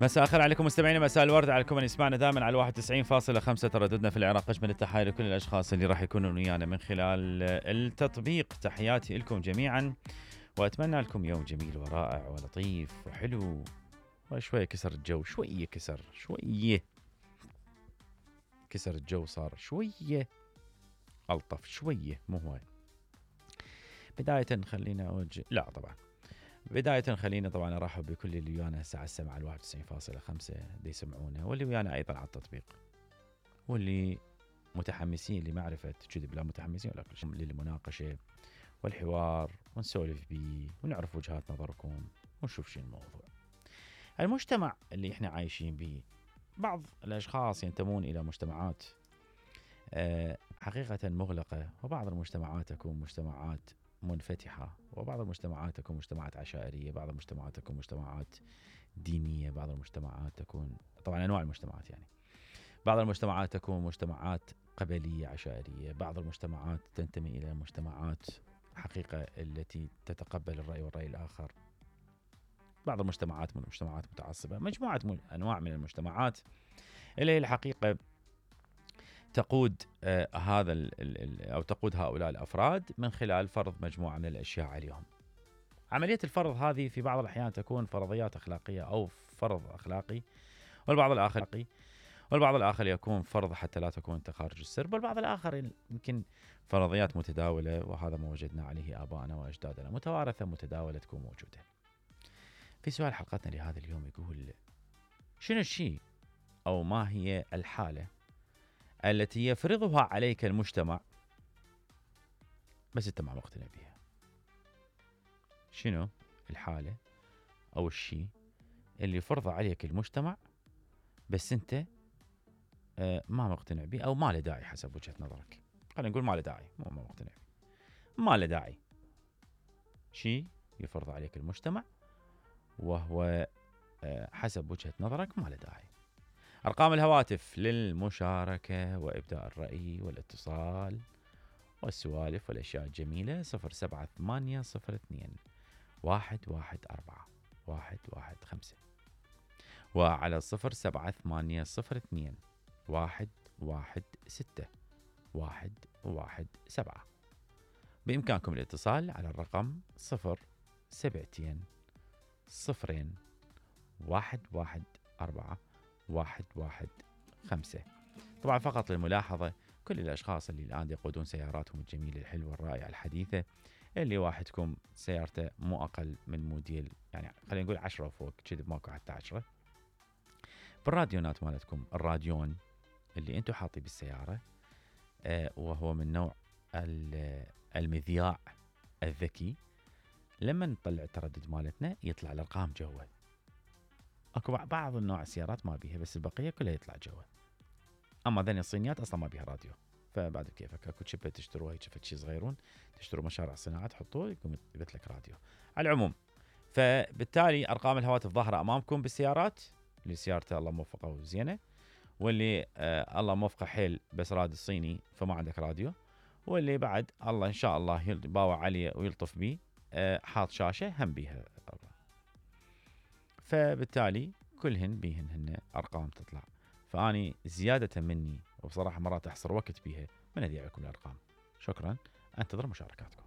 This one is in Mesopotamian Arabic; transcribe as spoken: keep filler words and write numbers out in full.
مساء الخير عليكم مستمعينا، مساء الورد عليكم اللي يسمعنا دائما على واحد وتسعين فاصلة خمسة ترددنا في العراق. اجمل التحايا لكل الاشخاص اللي راح يكونوا ويانا من خلال التطبيق. تحياتي لكم جميعا واتمنى لكم يوم جميل ورائع ولطيف وحلو وشويه كسر الجو، شويه كسر شويه كسر الجو، صار شويه الطف شويه مو هواي. بدايه خلينا اوجه لا طبعا بداية خلينا طبعا ارحب بكل اللي ويانا الساعة السبعة على واحد وتسعين فاصلة خمسة دي يسمعونا، واللي ويانا ايضا على التطبيق، واللي متحمسين لمعرفة كذب لا متحمسين ولا كل شيء للمناقشة والحوار ونسولف بيه ونعرف وجهات نظركم ونشوف شو الموضوع. المجتمع اللي احنا عايشين به، بعض الاشخاص ينتمون الى مجتمعات أه حقيقة مغلقة، وبعض المجتمعات تكون مجتمعات منفتحة، وبعض المجتمعات تكون مجتمعات عشائرية، بعض المجتمعات تكون مجتمعات دينية، بعض المجتمعات تكون طبعا أنواع المجتمعات يعني بعض المجتمعات تكون مجتمعات قبلية عشائرية، بعض المجتمعات تنتمي إلى مجتمعات حقيقة التي تتقبل الرأي والرأي الآخر، بعض المجتمعات من مجتمعات متعصبة، مجموعة أنواع من المجتمعات اللي هي الحقيقة تقود آه هذا ال ال أو تقود هؤلاء الأفراد من خلال فرض مجموعة من الأشياء عليهم. عملية الفرض هذه في بعض الأحيان تكون فرضيات أخلاقية أو فرض أخلاقي، والبعض الآخر والبعض الآخر يكون فرض حتى لا تكون تخارج السرب، والبعض الآخر يمكن فرضيات متداولة، وهذا ما وجدنا عليه آبائنا وأجدادنا، متوارثة متداولة تكون موجودة. في سؤال حلقتنا لهذا اليوم يقول: شنو الشيء أو ما هي الحالة التي يفرضها عليك المجتمع بس انت ما مقتنع بها؟ شنو الحالة او الشيء اللي يفرضه عليك المجتمع بس انت آه ما مقتنع به او ما له داعي حسب وجهة نظرك؟ خلينا نقول ما له داعي، مو ما مقتنع به، ما له داعي. شيء يفرض عليك المجتمع وهو آه حسب وجهة نظرك ما له داعي. أرقام الهواتف للمشاركة وإبداء الرأي والاتصال والسوالف والأشياء الجميلة: صفر سبعة ثمانية صفر اثنين واحد واحد أربعة واحد واحد خمسة، وعلى صفر سبعة ثمانية صفر اثنين واحد واحد ستة واحد واحد سبعة. بإمكانكم الاتصال على الرقم صفر سبعتين صفرين واحد واحد أربعة واحد واحد خمسة. طبعا فقط للملاحظة، كل الأشخاص اللي الآن يقودون سياراتهم الجميلة الحلوة الرائعة الحديثة، اللي واحدكم سيارته مو أقل من موديل يعني خلينا نقول عشرة وفوق، كذب ماكو حتى عشرة، بالراديونات مالتكم الراديون اللي انتو حاطي بالسيارة آه وهو من نوع المذياع الذكي، لما نطلع التردد مالتنا يطلع الأرقام جوا. اكو بعض النوع السيارات ما بيها، بس البقيه كلها يطلع جوا. اما ذني الصينيات اصلا ما بيها راديو، فبعد كيفك اكو شبه تشتروها هيك شفت شي صغيرون، تشتروا مشارع صناعه تحطوه يقوم يثبت لك راديو. على العموم فبالتالي ارقام الهواتف ظاهره امامكم بالسيارات، اللي سيارته الله موفقه وزينه، واللي آه الله موفقه حيل بس راد الصيني فما عندك راديو، واللي بعد الله ان شاء الله يباوع عليه ويلطف بيه آه حاط شاشه هم بيها. فبالتالي كلهن بيهن هن أرقام تطلع، فأني زيادة مني وبصراحة مرات أحصر وقت بيها من أذيع لكم الأرقام. شكرا، أنتظر مشاركاتكم.